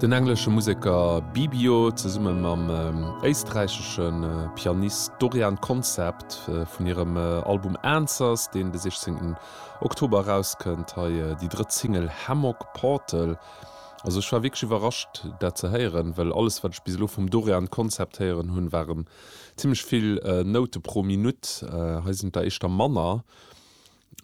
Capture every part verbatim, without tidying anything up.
Den englesche Museker Bibio zesumme mam éisträichesche Pianist Dorian Concept vun hirem Album Answers, deen de sichzéngten Oktober erauskënnt. Hei déi drëtt Single Hammock Portal. Also ech war wierklech iwwerrascht dat ze héieren, well alles wat ech bis elo vum Dorian Concept héieren hunn, waren zimmlech vill Noute pro Minutt. Hei sinn et der éischter manner.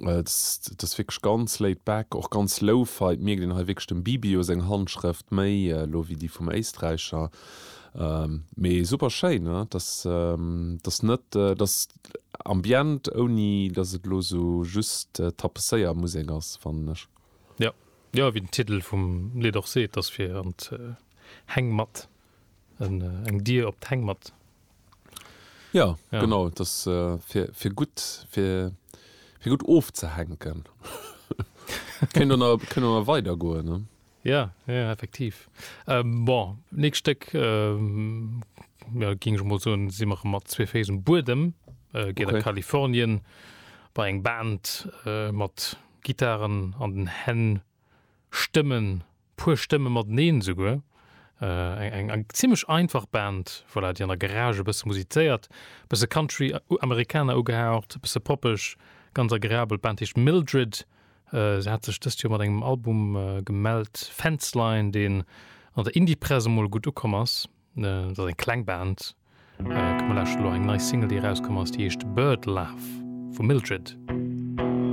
Et ass wierklech ganz laid back, och ganz lo-fi. Et mierkt een hei wierklech dem Bibio seng Handschrëft méi elo wéi déi vum Éisträicher. Mee super schéin, ne? Et ass, et ass net, et ass Ambient ouni datt et elo sou just Tapezéiermusek ass, fannen ech. Jo, jo, wéi den Titel vum Lidd och seet, ass fir an d'Hängmatt, eng Dier op d'Hängmatt. Ja, ja. Genau, das äh, fir, fir gutt fir, fir gutt ofzehänken. Kéint och nach, kéint och nach weidergoen, ne? Ja, ja, effektiv. Ähm, bon, nächst Stéck, ähm, ja, géing ech mol soen, si mer mat zwee Féiss um Buedem, äh, geet okay. a Kalifornien bei eng Band äh, mat Gittaren an den Hänn, Stëmmen, puer Stëmme mateneen esouguer. Eng eng zimmlech einfach Band, voilà, déi an der Garage e bësse musizéiert, bësse Country, Americana ugehaucht, e bësse poppeg, ganz agreabel. D'Band heescht Mildred. Se hat sech dëst Joer mat engem Album gemellt, Fenceline, deen an der Indie-Press emol gutt ukomm ass. Dat ass eng kleng Band. Komm mer lauschteren elo eng nei Single, déi erauskomm ass, déi heescht Bird Love vu Mildred.